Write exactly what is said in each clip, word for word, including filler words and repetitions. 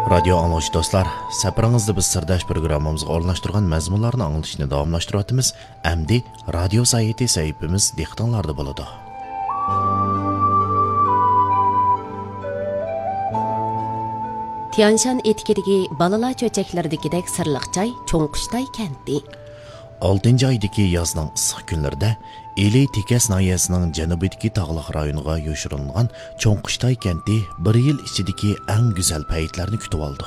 رادىيو ئاڭلىغۇچى دوستلار، سەپىرىڭىزدە بىز سىرداش پروگراممىمىزغا ئورۇنلاشتۇرغان مەزمۇنلارنى ئاڭلىتىشنى داۋاملاشتۇرۇۋاتىمىز. ئەمدى رادىيو سايىتى سەھىپىمىز دىققىتىڭلاردا بولىدۇ. تيانشان ئېتىكىدىكى بالىلار چۆچەكلىرىدىكىدەك سىرلىق جاي چوڭقۇشتاي كەنتى. ئالتىنچى ئايدىكى يازنىڭ ئىسسىق كۈنلىرىدە ئىلى تېكەس ناھىيەسىنىڭ جەنۇبىدىكى تاغلىق رايونىغا يوشۇرۇنغان چوڭقۇشتاي كەنتى بىر يىل ئىچىدىكى ئەڭ گۈزەل پەيتلەرنى كۈتۈۋالىدۇ.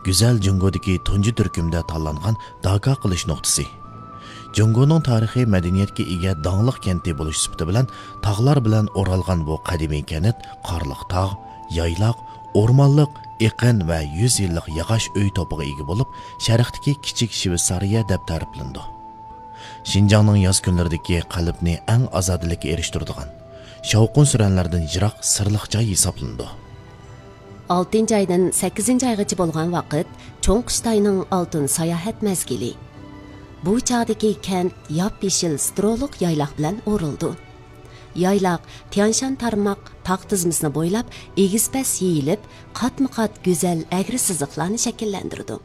گۈزەل جۇڭگودىكى تۇنجى تۈركۈمدە تاللانغان داكا قىلىش نۇقتىسى. جۇڭگونىڭ تارىخىي مەدەنىيەتكە ئىگە داڭلىق كەنتى بولۇش سۈپىتى بىلەن تاغلار بىلەن ئورالغان بۇ قەدىمىي كەنت قارلىق تاغ، يايلاق، ئورمانلىق، ئېقىن ۋە يۈز يىللىق ياغاچ ئۆي توپىغا ئىگە بولۇپ، شەرقتىكى كىچىك شۋېتسارىيە دەپ تەرىپلىنىدۇ. شىنجاڭنىڭ ياز كۈنلىرىدىكى قەلبنى ئەڭ ئازادىلىككە ئېرىشتۈرىدىغان، شاۋقۇن-سۈرەنلەردىن يىراق سىرلىق جاي ھېسابلىنىدۇ. ئالتىنچى ئايدىن سەككىزىنچى ئايغىچە بولغان ۋاقىت چوڭقۇشتاينىڭ ئالتۇن ساياھەت مەزگىلى. بۇ چاغدىكى كەنت ياپيېشىل سترولۇق يايلاق بىلەن ئورۇلىدۇ. يايلاق تيانشان تارماق تاغ تىزمىسىنى بويلاپ ئېگىز-پەس يېيىلىپ، قاتمۇ-قات گۈزەل ئەگرى سىزىقلارنى شەكىللەندۈرىدۇ.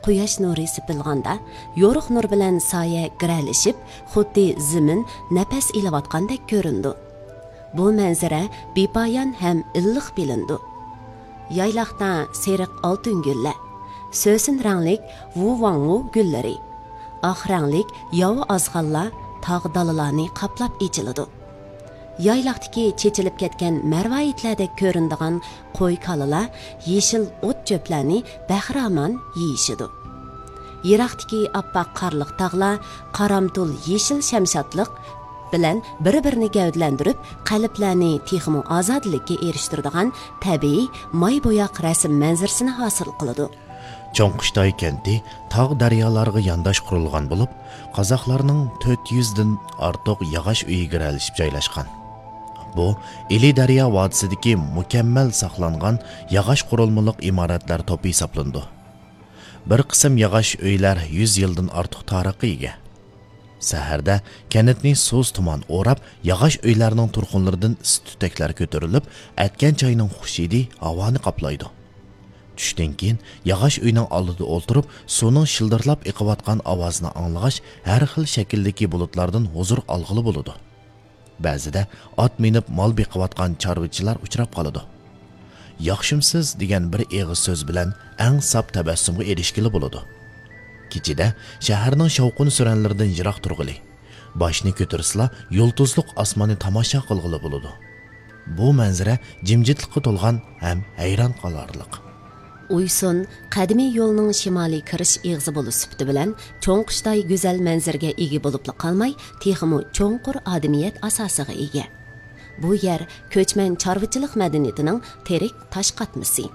قۇياش نۇرى سېپىلغاندا، يورۇق نۇر بىلەن سايە گىرەلىشىپ، خۇددى زېمىن نەپەس ئېلىۋاتقاندەك كۆرۈنىدۇ. بۇ مەنزىرە بىپايان ھەم ئىللىق بىلىنىدۇ. يايلاقتا سېرىق ئالتۇن گۈللەر، سۆسۈن رەڭلىك ۋۇۋاڭۋۇ گۈللىرى، ئاق رەڭلىك ياۋا ئازغانلار تاغ دالىلارنى قاپلاپ ئېچىلىدۇ. يايلاقتىكى چېچىلىپ كەتكەن مەرۋايىتلەردەك كۆرۈنىدىغان قوي-كالىلار يېشىل ئوت-چۆپلەرنى بەخىرامان يېيىشىدۇ. يىراقتىكى ئاپئاق قارلىق تاغلار قارامتۇل يېشىل شەمشادلىق بىلەن بىر-بىرىنى گەۋدىلەندۈرۈپ، قەلبلەرنى تېخىمۇ ئازادىلىككە ئېرىشتۈرىدىغان تەبىئىي ماي بوياق رەسىم مەنزىرىسىنى ھاسىل قىلىدۇ. چوڭقۇشتاي كەنتى تاغ دەريالارغا يانداش قۇرۇلغان بولۇپ، قازاقلارنىڭ تۆت يۈزدىن ئارتۇق ياغاچ ئۆيى گىرەلىشىپ جايلاشقان. بۇ ئىلى دەريا ۋادىسىدىكى مۇكەممەل ساقلانغان ياغاچ قۇرۇلمىلىق ئىمارەتلەر توپى ھېسابلىنىدۇ. بىر قىسىم ياغاچ ئۆيلەر يۈز يىلدىن ئارتۇق تارىخقا ئىگە. سەھەردە كەنتنى سۇس تۇمان ئوراپ، ياغاچ ئۆيلەرنىڭ تۇرخۇنلىرىدىن ئىسسىق تۈتەكلەر كۆتۈرۈلۈپ، ئەتكەن چاينىڭ خۇش ھىدى ھاۋانى قاپلايدۇ. چۈشتىن كېيىن ياغاچ ئۆينىڭ ئالدىدا ئولتۇرۇپ، سۇنىڭ شىلدىرلاپ ئېقىۋاتقان ئاۋازىنى ئاڭلىغاچ، ھەر خىل شەكىلدىكى بۇلۇتلاردىن ھۇزۇر ئالغىلى بولىدۇ. بەزىدە ئات مىنىپ مال بېقىۋاتقان چارۋىچىلار ئۇچراپ قالىدۇ. «ياخشىمسىز؟» دېگەن بىر ئېغىز سۆز بىلەن ئەڭ ساپ تەبەسسۇمغا ئېرىشكىلى بولىدۇ. كېچىدە شەھەرنىڭ شاۋقۇن-سۈرەنلىرىدىن يىراق تۇرغىلى، باشنى كۆتۈرسىلا يۇلتۇزلۇق ئاسماننى تاماشا قىلغىلى بولىدۇ. بۇ مەنزىرە جىمجىتلىققا تولغان ھەم ھەيران قالارلىق. ئۇيسۇن قەدىمىي يولنىڭ شىمالىي كىرىش ئېغىزى بولۇش سۈپىتى بىلەن چوڭقۇشتاي گۈزەل مەنزىرىگە ئىگە بولۇپلا قالماي، تېخىمۇ چوڭقۇر ئادىمىيەت ئاساسىغا ئىگە. بۇ يەر كۆچمەن چارۋىچىلىق مەدەنىيىتىنىڭ تىرىك تاش قاتمىسى.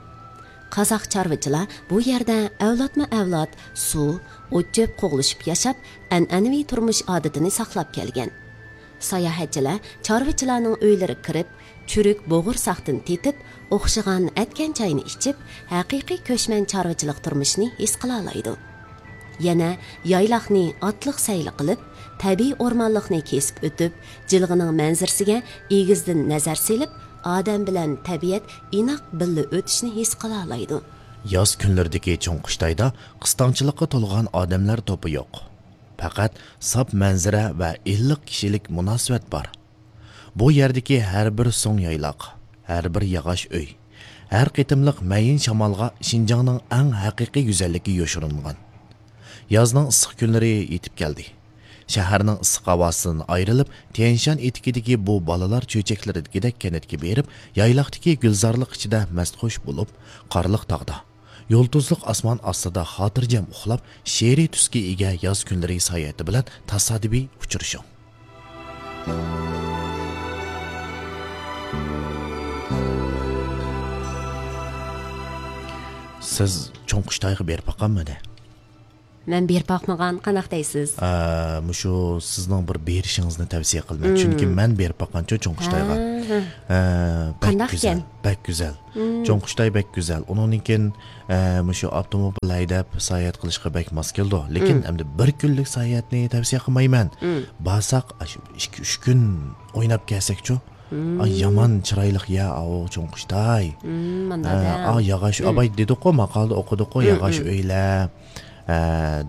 قازاق چارۋىچىلار بۇ يەردە ئەۋلادمۇ ئەۋلاد سۇ، ئوت-چۆپ قوغلىشىپ ياشاپ، ئەنئەنىۋى تۇرمۇش ئادىتىنى ساقلاپ كەلگەن. ساياھەتچىلەر چارۋىچىلارنىڭ ئۆيلىرىگە كىرىپ، چۈرۈك بوغۇرساقتىن تېتىپ، ئوخشىغان ئەتكەن چاينى ئىچىپ، ھەقىقىي كۆچمەن چارۋىچىلىق تۇرمۇشىنى ھېس قىلالايدۇ. يەنە يايلاقنى ئاتلىق سەيلە قىلىپ، تەبىئىي ئورمانلىقنى كېسىپ ئۆتۈپ، جىلغىنىڭ مەنزىرىسىگە ئېگىزدىن نەزەر سېلىپ، ئادەم بىلەن تەبىئەت ئىناق بىللە ئۆتۈشنى ھېس قىلالايدۇ. ياز كۈنلىرىدىكى چوڭقۇشتايدا قىستاڭچىلىققا تولغان ئادەملەر توپى يوق. پەقەت ساپ مەنزىرە ۋە ئىللىق كىشىلىك مۇناسىۋەت بار. بۇ يەردىكى ھەر بىر سۇڭ يايلاق، ھەر بىر ياغاچ ئۆي، ھەر قېتىملىق مەيىن شامالغا شىنجاڭنىڭ ئەڭ ھەقىقىي گۈزەللىكى يوشۇرۇنغان. يازنىڭ ئىسسىق كۈنلىرى يېتىپ كەلدى. شەھەرنىڭ ئىسسىق ھاۋاسىدىن ئايرىلىپ، تيەنشان ئېتىكىدىكى بۇ بالىلار چۆچەكلىرىدىكىدەك كەنتكە بېرىپ، يايلاقتىكى گۈلزارلىق ئىچىدە مەستخۇش بولۇپ، قارلىق تاغدا، يۇلتۇزلۇق ئاسمان ئاستىدا خاتىرجەم ئۇخلاپ، شېئىرىي تۈسكە ئىگە ياز كۈنلىرى ساياھىتى بىلەن تاسادىپىي ئۇچرىشىڭ. سىز چوڭقۇشتايغا بېرىپ باققانمىدى؟ مەن بېرىپ باقمىغان، قانداق دەيسىز؟ ئە، مۇشۇ سىزنىڭ بىر بېرىشىڭىزنى تەۋسىيە قىلىمەن. مم. چۈنكى مەن بېرىپ باققانچۇ چوڭقۇشتايغا. ئاھا. ئە، بەك قانداق گۈزەل، ئىكەن؟ بەك گۈزەل. مم. چوڭقۇشتاي بەك گۈزەل. ئۇنىڭدىن كېيىن، ئە، مۇشۇ ئاپتوموبىل ھەيدەپ ساياھەت قىلىشقا بەك ماس كېلىدۇ. لېكىن مم. ئەمدى بىر كۈنلۈك ساياھەتنى تەۋسىيە قىلمايمەن. مم. بارساق، ئاشۇ ئىككى، ئۈچ كۈن ئويناپ كەلسەكچۇ؟ ئاي، يامان چىرايلىق يا ئاۋۇ چوڭقۇشتاي. ئا، ياغاش، ئاباي دېدۇققۇ، ماقالىدا ئوقۇدۇققۇ، ياغاش ئۆيلەر، ئە،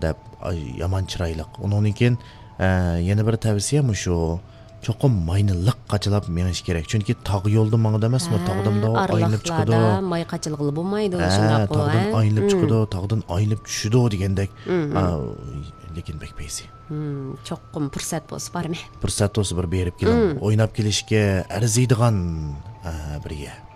دەپ، ئاي، يامان چىرايلىق. ئۇنىڭدىن كېيىن، ئە، يەنە بىر تەۋسىيە مۇشۇ. چوقۇم ماينى لىق قاچىلاپ مېڭىش كېرەك. چۈنكى تاغ يولىدا ماڭىدۇ ئەمەسمۇ، تاغدا مۇنداق ئايلىنىپ چىقىدۇ. ماي قاچىلىغىلى بولمايدۇ، ھە، شۇنداققۇ، تاغدىن ھە؟ ئايلىنىپ چىقىدۇ، تاغدىن ئايلىنىپ چۈشىدۇ دېگەندەك. ئا، لېكىن بەك پەيزى. چوقۇم پۇرسەت بولسا بارىمەن. پۇرسەت بولسا بىر بېرىپ كېلىڭ. ئويناپ كېلىشكە ئەرزىيدىغان، ئا، بىر يەر.